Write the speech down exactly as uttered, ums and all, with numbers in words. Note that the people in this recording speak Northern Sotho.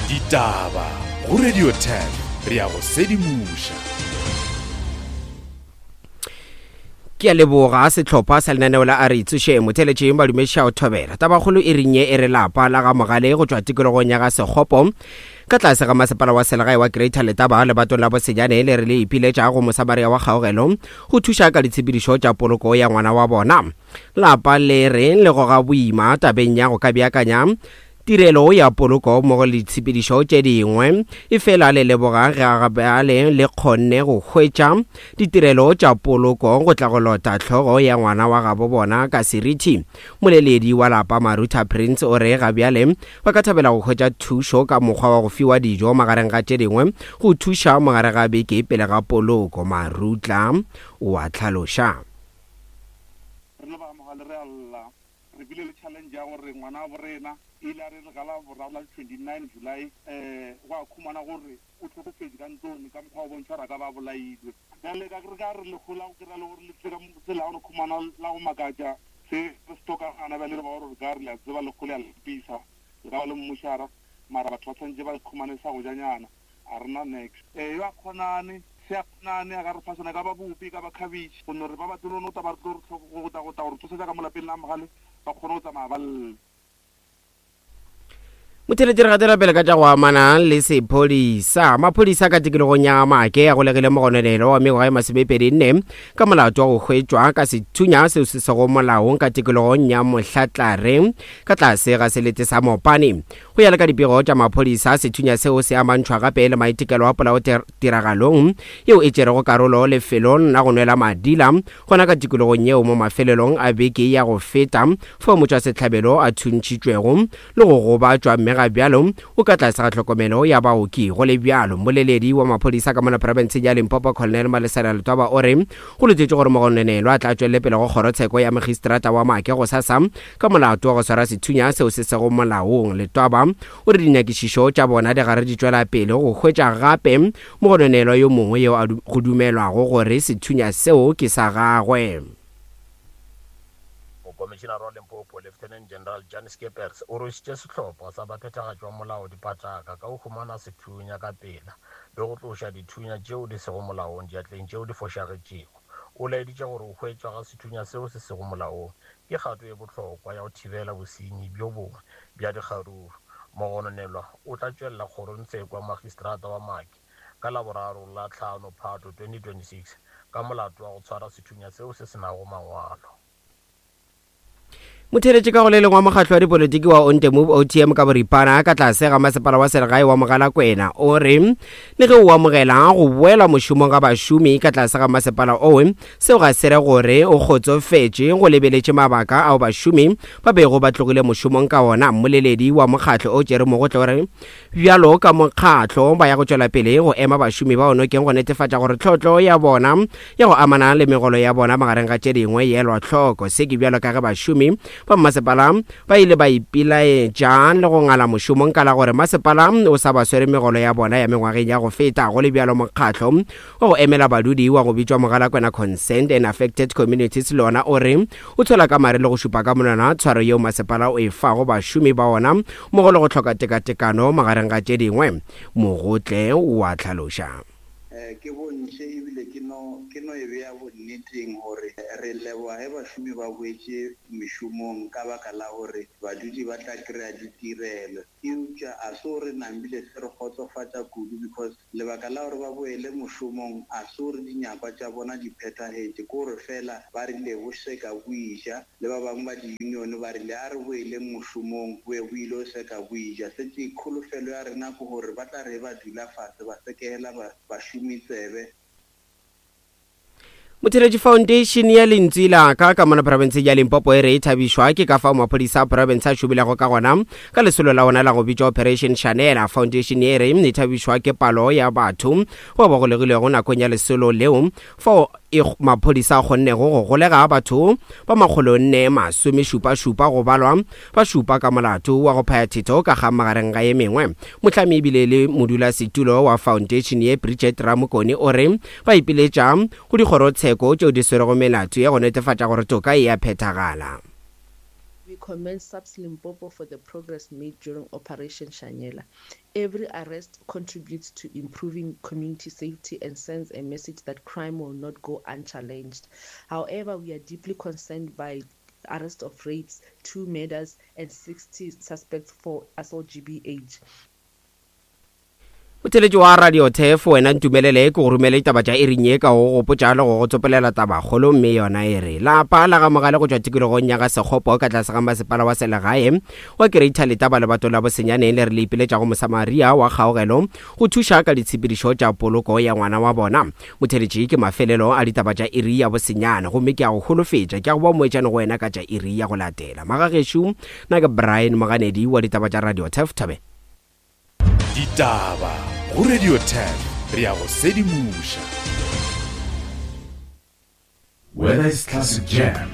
Ditaba go Radio ten re ya go sedimoša. Ke a leboga sehlopha sa lenaneo la a re itsoše motheletšeng badumeša o thobela. Tabakgolo e renye e re lapa la ga Mogale go tšwa tikologong ya ga Sekgopo ka tlase ga masepala wa selegae wa Greater Letaba lebatong la Bosenyane le re le ipiletša go Mosamaria wa Kgaogelo go thuša ka ditshepedišo tša poloko ya ngwana wa bona. Lapa le re le goga boima tabeng ya go ka beakanya tirelo ya poloko mmogo le ditshepedišo tše dingwe, efela le leboga ge gabjale le kgonne go hwetša ditirelo tša poloko go tla go lota hlogo ya ngwana wa gabo bona ka seriti. Moleledi wa lapa Maruta Prince o re gabjale ba ka thabela go hwetša thušo ka mokgwa wa go fiwa dijo magareng ga tše dingwe go thuša mogare ga beke pele ga poloko. Marutla o a hlaloša. Re le ba Mogale re a lla, re bile le challenge ya gore ngwana wa borena ile a re re gala boraro la twenty-nine July, eh gwa khumana gore o tlhokofetse ka ntlong ka mokgwa o bontšha gore a ka ba bolailwe. Bjale ka re ka re lehola go kry-a le gore le tle ka tsela ya go khumana la go makatša se re se tlhokagana. Bjale re ba gore re ka re le a tseba lehola ya lepisa le ka ba le mmošara, mara batho ba tshwanetse ba khumane sa go janyana, a rena next. Eh yo a kgonane se a kgonane a ka re fa sona, e ka ba bupi, e ka ba cabbage, gonne re ba batle no tla ba re tlo re tlhoko go tla go tla go re tsosetsa ka mo lapeng la Mogale ba kgone go tsamaya ba lle. Motheletši re gatela pele ka tša go amana le sephodisa. Maphodisa ka tikologong ya Make a golegile mogononelo wa mengwaga e masomepedi nne ka molato wa go hwetšwa ka sethunya seo se sego molaong ka tikologong ya Mohlatlare ka tlase ga selete sa Mopane. Go ya le ka dipego tša maphodisa, sethunya seo se amantšhwa gape le maitekelo a polao tiragalong yeo e tšerego karolo lefelong la go nwela madila gona ka tikologong yeo mo mafelelong a beke ya go feta, fao motšwasehlabelo a thuntšhitšwego le go gobatšwa mme ga bjalo o ka tlase ga tlhokomelo ya baoki. Go le bjalo, moleledi wa maphodisa ka mona profenseng ya Limpopo Colonel Malesela Letwaba o re go letetše gore mogononelwa a tla tšwelele pele go kgorotsheko ya magistrata wa Make gosasa ka molato wa go swara sethunya seo se sego molaong. Letwaba o re dinyakišišo tša bona di gare di tšwela pele go hwetša gape mogononelwa yo mongwe yo a go dumelwago gore sethunya seo ke sa gagwe. Mokomišenare wa Limpopo Lieutenant General Jan Skeepers o rwešitše sehlopha sa baphethagatši ba molao dipataka ka go humana sethunya ka pela le go tloša dithunya tšeo di sego molaong diatleng tšeo di fošagetšego. O laeditše gore go hwetšwa ga sethunya seo se sego molaong ke kgato e bohlokwa ya go thibela bosenyi bjo bongwe bja dikgaruru. Mogononelwa o tla tšwelela kgorongtsheko ya magistrata wa Make ka Laboraro la hlano Phato twenty twenty-six ka molato wa go tshwara sethunya seo se se nago mangwalo. Motheletši ka go le lengwe wa mokgatlo wa dipolitiki wa Onte Move O T M ka boripana ka tlase ga masepala wa selegae wa Mogalakwena o re le ge o amogela go boela mošomong ga bašomi ka tlase ga masepala owe, seo ga se re gore o kgotsofetše go lebeletše mabaka ao bašomi ba bego ba tlogile mošomong ka ona. Mmoleledi wa mokgatlo o Jerry Mogotle o re bjalo ka mokgatlo ba ya go tšwela pele go ema bašomi ba onokeng go netefatša gore tlhotlo ya bona ya go amana le megolo ya bona magareng ga tše dingwe e elwa hloko. Se ke bjalo ka ge bašomi ba masepala ba ile ba ipilaetša le go ngala mošomong ka la gore masepala o sa ba swere megolo ya bona ya mengwageng ya go feta. Go le bjalo, mokgatlo wa go emela badudi wa go bitšwa Mogalakwena Concerned and Affected Communities le ona o re o tswela ka mare le go šupa ka monwana tshwaro yeo masepala o e fago bašomi ba ona mmogo le go hloka tekatekano magareng ga tše dingwe. Mogotle o a hlaloša. Ke bontšhe ebile ke no ke no e bea bonneteng gore re leboga ge bašomi ba boetše mešomong ka baka la gore badudi ba tla kry-a ditirelo, eupša a se gore nambile se re kgotsofatša kudu because lebaka la gore ba boele mošomong a se gore dinyakwa tša bona di phethagetše, ke gore fela ba rile bo seka bo ija le ba bangwe ba di-union ba rile a re boeleng mošomong bo ye bo ile o seka bo ija. Setse kholofelo ya rena ke gore ba tla re ba dula fase ba sekegela bašomi tsebe. Motheletši Foundation ya Lentswe la ka ka mona profenseng ya Limpopo e re e thabišwa ke ka fao maphodisa a profense a šomilego ka gona ka lesolo la ona la go bitšwa Operation Shanela. Foundation e re e thabišwa ke palo ya batho bao ba golegilego nakong ya lesolo leo fao e maphodisa a kgonnego go golega batho ba makgolo nne masome šupa šupa go balwa ba šupa ka molato wa go phaya thetho ka ga magareng ga ye mengwe. Mohlami ebile le modulasetulo wa foundation ye Bridget Ramokone o re ba ipiletša go dikgorotsheko tšeo di swerego melato ya go netefatša gore toka e a phethagala. We commend SAPS Limpopo for the progress made during Operation Shanela. Every arrest contributes to improving community safety and sends a message that crime will not go unchallenged. However, we are deeply concerned by arrest of rapes, two murders, and sixty suspects for assault G B H. Motheletši wa Radio Turf, wena ntumelele ke go romele ditaba tša iring ye ka go gopotša le go go tsopelela tabakgolo, mme yona e re lapa la ga Mogale go tšwa tikologong ya ga Sekgopo ka tlase ga masepala wa selegae wa Greater Letaba lebato la Bosenyaneng le re le ipiletša go Mosamaria wa Kgaogelo go thuša ka ditshepedišo tša poloko ya ngwana wa bona. Motheletši, ke mafelelo a ditaba tša iri ya bosenyane, gomme ke a go holofetša ke a go ba moetšane go wena ka tša iri ya go latela. Magagešo, nna ke Brian Moganedi wa ditaba tša Radio Turf. Thabe. Ditaba go Radio Turf, re a go sedimoša. Whether it's classic jam